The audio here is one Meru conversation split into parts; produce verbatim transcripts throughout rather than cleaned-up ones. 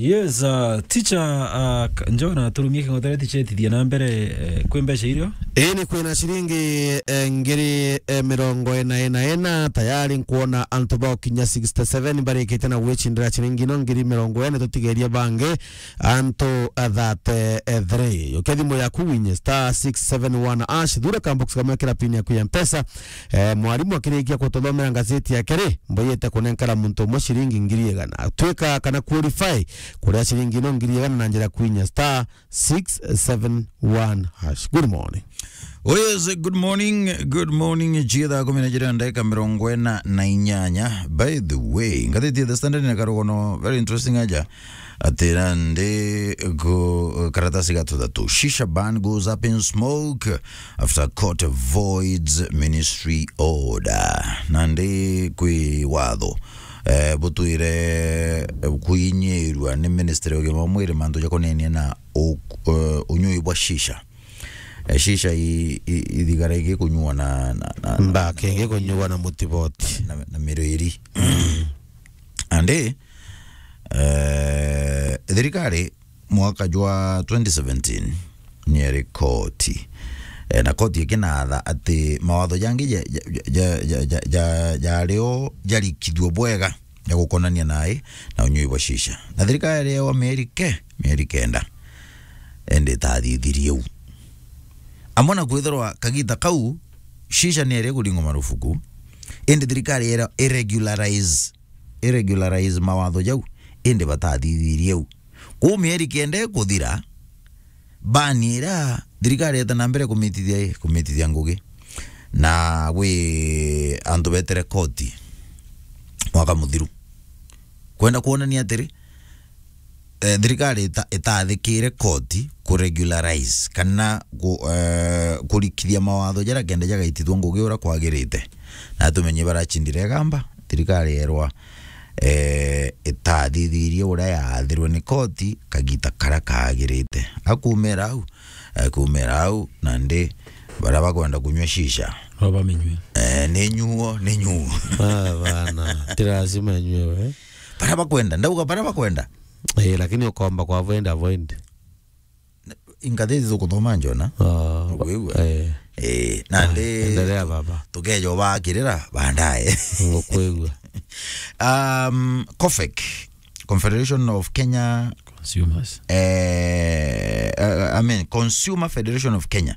Yes, uh, teacher, uh, K-, Njona, turumie king'otere ticheti thia na mbere, eh, kwi mbeca irio? Ii, ni kwina ciringi, eh, ngiri, eh, mirongo ina ina ina, tayari nkwona antu bao kinya sixty seven barikite na gwicindira ciringi ino ngiri mirongo ina, tutigerie bangi antu, eh, thirty-three. Ukia thimu yaku winye star six seven one hash, thura ka box kamwe, kira pin yaku ya Mpesa. Eh, mwarimu akirikia kututhomera ngazeti yake ri, mboyete kunenkara muntu umwe ciringi ngiri igana. Twika kana qualify kuria ciringi ino ngiri igana na njira kwinya star six seven one hash. Good morning. Oh yes, good morning, good morning. Jia thaa kumi na jiri na ndagika mirongo ina na inyanya. By the way, ngathiti ya The Standard na karugono, very interesting aja. Ati nandi ku karatasi ga tuthatu. Shisha ban goes up in smoke after court voids ministry order. Nandi kwi watho, eh, butwire, eh, kwinyirua ni ministry ya ugima wa mwiri mantu ja kunenia na u-, eh, unyui bwa shisha. Eh, shisha i-, i-, ithigara igikunyua na, na, na, mbake igikunyua na mutiboti. Na, na mirwiri. Andi, eh, thirikari mwaka jwa twenty seventeen ni eri koti. Eh, na koti ikinatha ati mawatho jangi ja, ja, ja, ja, ja, ja, jario jarikithua bwega ja gukonania nai na unyui bwa shisha. Na thirikari yewa mieri ke, mieri kenda. Indi itathithirie u. Amwe na kwithirwa kagita kau, shisha ni eri kuringwa marufuku, indi thirikari ira iregularize, iregularize mawatho jau, indi batathithirie u. Kuu mieri kenda ikuthira, bani iria thirikari yeta na mbere kumitithia i, kumitithia ngugi. Na gwi antu betere koti mwaka muthiru. Kwenda kwonania atiri, eh, thirikari ita-, itathikire koti kuregularize kana ku-, eh, kurikithia mawatho jaria kenda jagaitithua ngugi uria kwagirite. Na tumenye barachindire igamba, thirikari yerwa, eh, itathithirie uria yaathirwe ni koti kagita karia kaagirite. Akumira au, eh, kumira au, nandi baria bakwenda kunyua shisha. Baba minywe. Eh, ni nyuo, ni nyuo. Ah, bana, ti lazima nywe we. Baria bakwenda, ndauga baria bakwenda. Eh, lakini ukomba kwa avoid, avoid. Ingathiti tukuthoma Njona. Ah, ukwigua? Eh. Eh, nandi, ah, endelea baba. Tukeja ubakirira baadaye. Ngukwigua. Um, COFEK, Confederation of Kenya Consumers. Eh, uh, I mean, Consumer Federation of Kenya,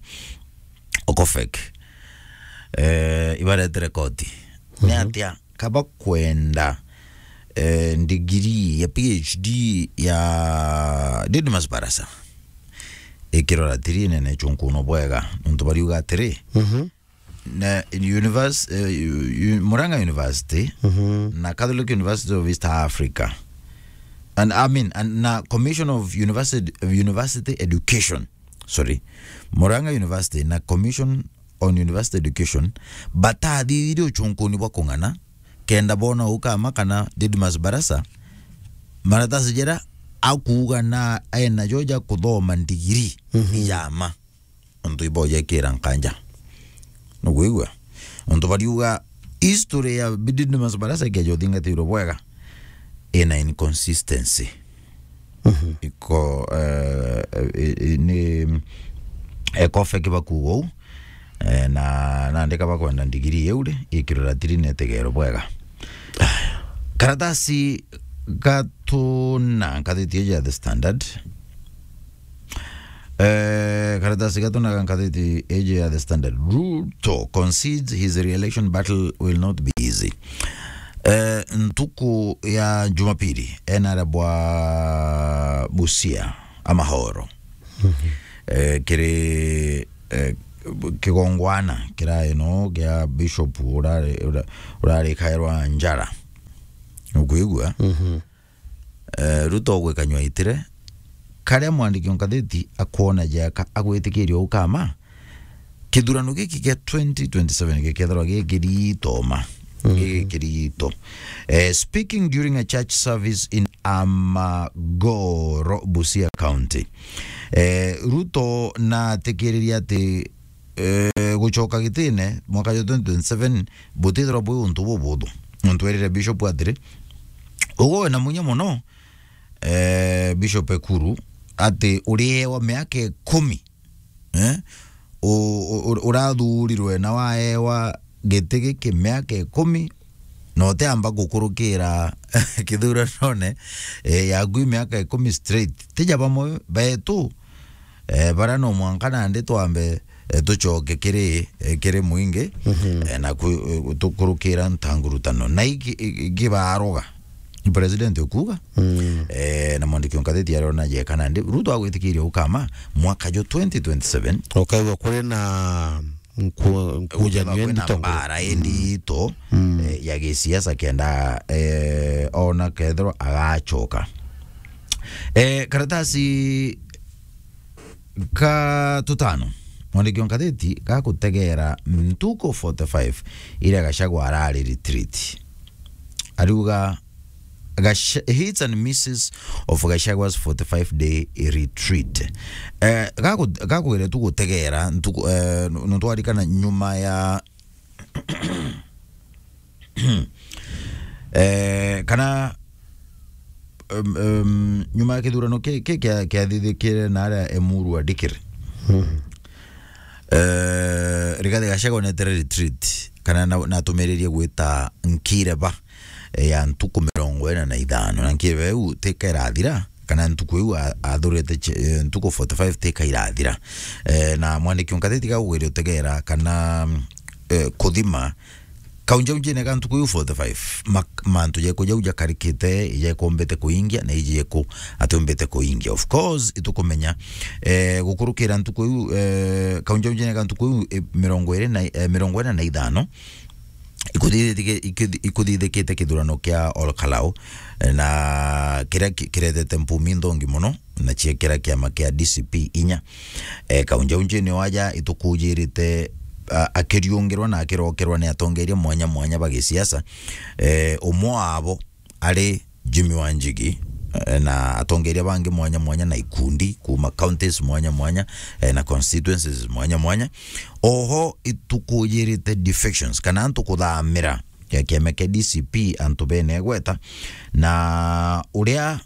o COFEK. Eh, ibaretere koti. Ni, mhm, atia kaba kwenda, eh, ndigiri ya P H D ya Didmus Barasa ikirora tiri nene chunkuno bwega, nontu bariuga atiri, mhm, na univers-, eh, u-, u-, Murang'a University, mhm, na Catholic University of East Africa, and, I mean, and na Commission of University, of University Education, sorry, Murang'a University na Commission on University Education batathithirie uchunkuni bwa kung'ana kenda bona ukama kana Didmus Barasa maratasi jera akuuga na ena jo ja kuthoma ndigiri, mhm, ya ma. Untu ibo jekira nkanja. Nukwigua? Untu bariuga history ya Didmus Barasa ikeja uthingatirwe bwega ina inconsistency. Mhm. Iko, eh, eh, eh, ni, eh, COFEK bakuuga uu, eh, na nandi kaba kwenda ndigiri iu ri, ikirora tiri netegero bwega. Karatasi gatuna ngathiti iji ya The Standard. Eh, karatasi gatuna ga ngathiti iji ya The Standard. Ruto concedes his re-election battle will not be easy. Eh, ntuku ya Jumapili, enara bwa Busia, Amahoro. Mhm. Eh, kiri, eh, kigongwana kirae no gia Bishop urari, ura-, urari kairwa Njara. Ukwigua? Mhm. Eh, Ruto gwikanywa itire, karia mwandiki o ngathiti akwona jeka agwitikiria ukama, kithurano giki kia twenty twenty-seven gikethirwa gikirito ma. Mhm. Gikirito. Eh, speaking during a church service in Amagoro, Busia County, eh, Ruto natikiriria ati, eh, gucoka gitine mwaka jwa twenty twenty-seven butithirwa bwi untu bubuthu. Untu erire Bishop atiri, ugo wina munya muno, eh, Bishop Ekuru, ati uriewa miaka ikumi, eh, u-, u-, u-, urathurirwe na waewa giti giki miaka ikumi, na utiamba gukurukira kithuranone, eh, yaku miaka ikumi straight. Tija bamwe betu, eh, bara no mwanka nandi twambe, eh, tucoke kiri, eh, kiri mwingi, eh, na ku-, eh, tukurukira ntangurutano. Na iki, i-, ikibaroga, ni president ukuga. Eh, na mwandiki wa ngatheti arona jeka nandi, Ruto agwitikiria ukama mwaka jo twenty twenty-seven. Ukaigua kuri na nku-, nkujanio kwina ndito nguru. Mbara indito, eh, ya gisiasa kenda, eh, ona kethirwa agacoka. Eh, karatasi ka tutano, mwandiki wa ngatheti gagutegera ntuku forty-five iria Gachagua arari retreat. Ariuga Gash-, hits and misses of Gachagua's forty-five day retreat. Eh, gaku-, gakwire tu gutegera ntuku, eh, nu-, nutwarikana nyuma ya, eh, kana, em, em, nyuma ya kithurano ki, ki kia, kiathithikire na aria Emuru adikire. Eh, Rigathi Gachagua netere retreat, kana na, natumiririe gwita nkireba, eh, ya ntuku mirongo ina na ithano, na nkireba iu tika irathira, kana ntuku iu a-, athurite ch-, eh, ntuku forty-five tika irathira. Eh, na mwandiki wa ngatheti gagwire utegera kana, eh, kuthima kaunjaunjine ga ntuku iu forty-five, ma-, mantu jeku jau jakarikite, jeku mbite kuingia, na iji jeku ati mbite kuingia. Of course, itukumenya, eh, gukurukira ntuku iu, eh, kaunjaunjine ga ntuku iu, eh, mirongo iri na, eh, mirongo ina na ithano, ikuthithike-, ikuthi-, ikuthithikite kithurano kia Ol Kalou, eh, na kiria ki-, kiretete mpumi nthongi muno, na ciekira kiama kia D C P inya. E, kaunjaunjine waja itukujirite, a, akiriungirwa na akirokerwa ni atongeria mwanya mwanya ba gisiasa. E, umwe wabo ari Jimmy Wanjigi, e, na atongeria bangi mwanya mwanya na ikundi kuma counties mwanya mwanya, e, na constituencies mwanya mwanya. Oho itukujirite defections, kana antu kuthamira kia kiama kia D C P antu bene gweta, na uria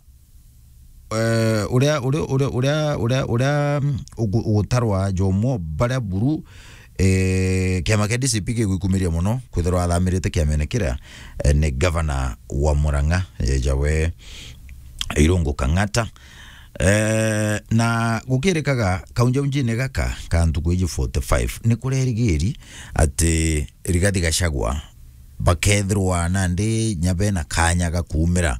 eh, uria, uria, uria, uria, uria, uria, mm, ugu-, ugutarwa jomwo baria buru, eh, kiama kia D C P gigwikumiria muno kwithirwa athamirite kiamene kiria, eh, ni gavana wa Murang'a, eh, jawe Irungu Kang'ata. Eh, na gukirikaga kaunjaunjine gaka ka ntuku iji forty-five, ni kurerigiri ati Rigathi Gachagua bakethirwa nandi nya bena kanya ga kuumira,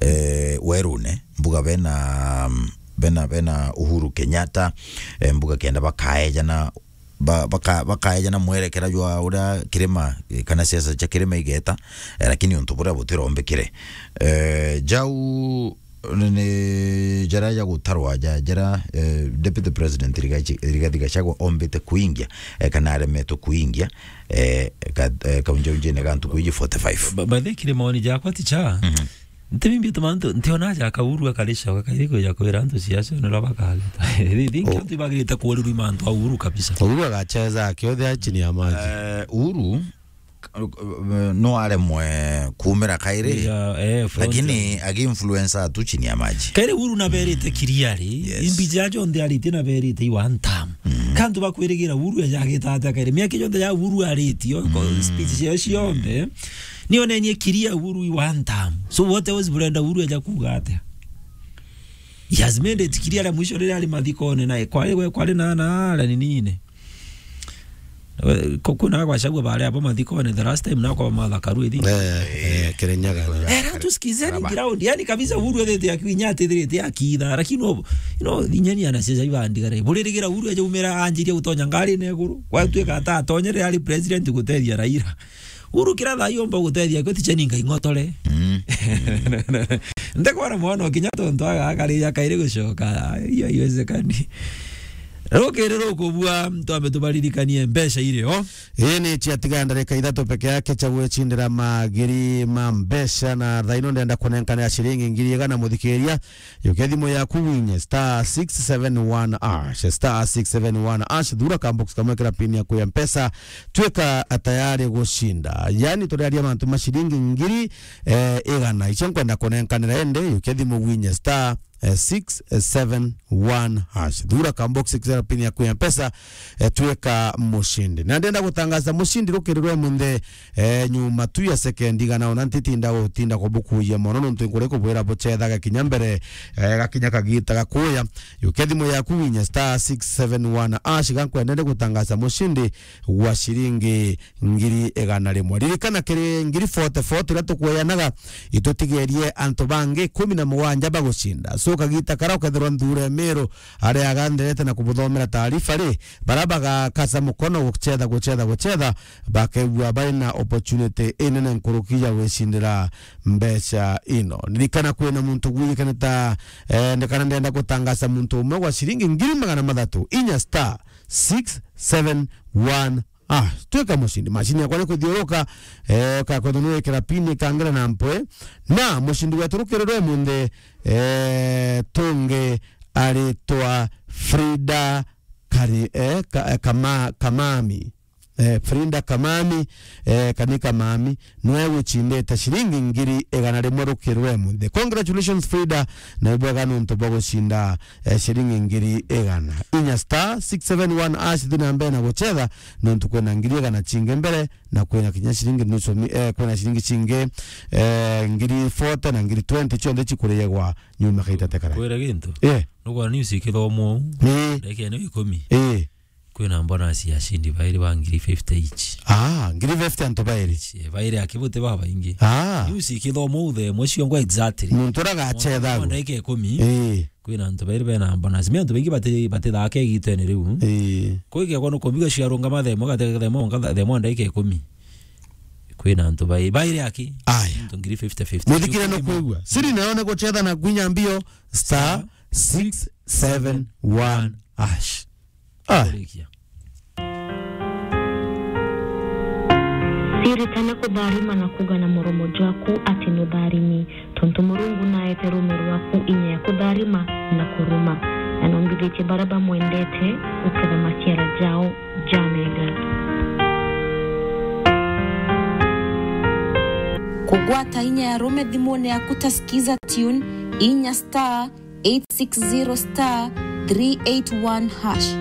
eh, werune, mbuga bena, bena, bena Uhuru Kenyatta, eh, mbuga kenda bakaejana, ba-, baka-, bakaejana mwerekera jwa uria kirima, eh, kana siasa cia kirima igeta, eh, lakini untu buria butirombekire. Eh, jau ni, ni jara ja gutarwa ja, jara, eh, Deputy President Rigathi, Rigathi Gachagua ombite kuingia, eh, kana aremetwe kuingia, eh, ka-, eh, kaunjaunjine ga ntuku iji forty-five. Ba-, ba-, bathikire maoni jakwa ti cha. Mhm. Nti mimbi tumantu, ntiona ja Uhuru akaricoka kairi kuja kwira antu ciacio nira bakagita. Thi-, thi-, oh, antu ibagirite kurirwa mantu a Uhuru kabisa. Uhuru agacheza akiothe chini ya maji. Eh, Uhuru no aremwe kuumira kairi, yeah, eh, front, lakini agi-influencer tu chini ya maji. Kairi Uhuru naberite clearly, yes, imbi ja jonthe aritie naberite i one term. Mm. Kantu bakwirigira Uhuru eja agita atia kairi? Miaka jonthe ja Uhuru aritie, o, ko-, mm, speech cio cionthe, ni onenie clear Uhuru i one term. So what else burenda Uhuru eja kuuga atia? He has made it clear mwisho riria ari mathikone na kwari, kwari na, na, na ninine. We, ku-, kuna Gachagua baria abo mathikone the last time nakwa Martha Karua, I think. Eh, eh, Kirinyaga. Eh, rau tusikizeni ground. Yani kabisa Uhuru ethete akinya atithirite akitha, lakini no, you know, inyeni anasiasa ibandigare. Buririgira Uhuru ajaumira anjiria gutonya ngari na iguru. Gwatuika ata atonyere ari president gutethia Raila. Uhuru kira thaa yomba gutethia kwe ticheni ngai ng'otore. Mm. Ndekwona mwana kinya tontu aga akarija kairi gucoka. Iyo iwezekani. Rukiri rukubua, twambe tubaririkanie mbeca irio. Ii ni ciatiga ndarika ithatu peke yake cia gwicindira magiri ma mbeca, na thaa ino ndenda kunenkanira ciringi ngiri igana, muthikiria. Yukia thimu yaku winye star six seven one hash, star six seven one hash, thura ka box kamwe kira pin yaku ya Mpesa, twika tayari gucinda. Yani, turiaria mantu ma ciringi ngiri, eh, igana. Icio nkwenda kunenkanira, indi yukia thimu winye star eh, six seven one hash. Thura ka box six seven pin yaku ya Mpesa, eh, twika mucindi. Na ndenda gutangaza mucindi rukiri rwa munthe, eh, nyuma tu ya sekendi igana, ona ntitinda gutinda kubukuia mono, nontu nkuri kubwira bucetha gakinya mbere, eh, gakinya kagita gakuya. Yukia thimu yaku winye star six seven one hash, gankwenda ndi gutangaza mucindi gwa ciringi ngiri igana rimwe. Ririkana, kiri ngiri forty forty iria tukweyanaga, itutigerie antu bangi ikumi na mugwanja bagucinda. So, kagita kara ukethirwa nthure Miru aria agantherete na kubuthomera taarifa ri, bara bagakasa mukono gucetha, gucetha, gucetha, bakegua bari na opportunity inene nkuruki ya gwicindira mbeca ino. Ririkana, kwina muntu gwikane ta, eh, ndekana ndenda gutangaza muntu umwe gwa ciringi ngiri magana mathatu, inya star six seven one Ah, twika mucindi. Macini yakwa ni kuthiuruka, eh, ka kwenda nwikira pini kangera na mpwe. Na mucindi wetu rukiri rwa munthe, eh, tungi aritwa Frida Kari-, eh, ka-, eh, Kama-, Kamami. Eh, Frida Kamami, eh, kani Kamami, nwe gucindite ciringi ngiri igana rimwe rukiri rwa munthe. Congratulations, Frida, na ibwega nontu bwa gucinda eh, ciringi ngiri igana. Inya star six seven one hash, thi na mbere na gucetha, nontu kwina ngiri igana cingi mbere, na kwina kinya ciringi nusu mi-, eh, kwina ciringi cingi, eh, ngiri forty na ngiri twenty, cionthe cikuriegwa nyuma kaita tekara. Kwira gintu? Eh. Nugwa news ikithomwa uu. Ni. Ndagika ino ikumi. Eh. Kwina bonus ya cindi bairi ba ngiri fifty each. Ah, ngiri fifty antu bairi. Eh, bairi aki buti babaingi. Ah. News ikithomwa uu the mwe ciongo exactly. Muntu uragacetha. Ndagika ikumi. Eh. Kwina antu bairi bena bonus. Mi antu baingi bati-, batithaake igitene riu. Ii. Kwigekwa nukumbiga ciarungama themo gate themo nka themo ndagika ikumi. Kwina antu bai-, bairi aki. Aya. Antu ngiri fifty fifty. Muthikire no kwigua. Siri nayo ni gucetha na kwinya mbio star six seven one hash. Ah. Kurikia. Siritana kutharima na kuga na muromo jwaku ati nutharimi, tontu Murungu naete rume rwaku inya ya kutharima na kuruma, na nombithitie baria bamwendete guketha maciara jao jamega. Kugwata inya ya rume thimune yaku ta Skiza Tune, inya star eight six zero star three eight one hash.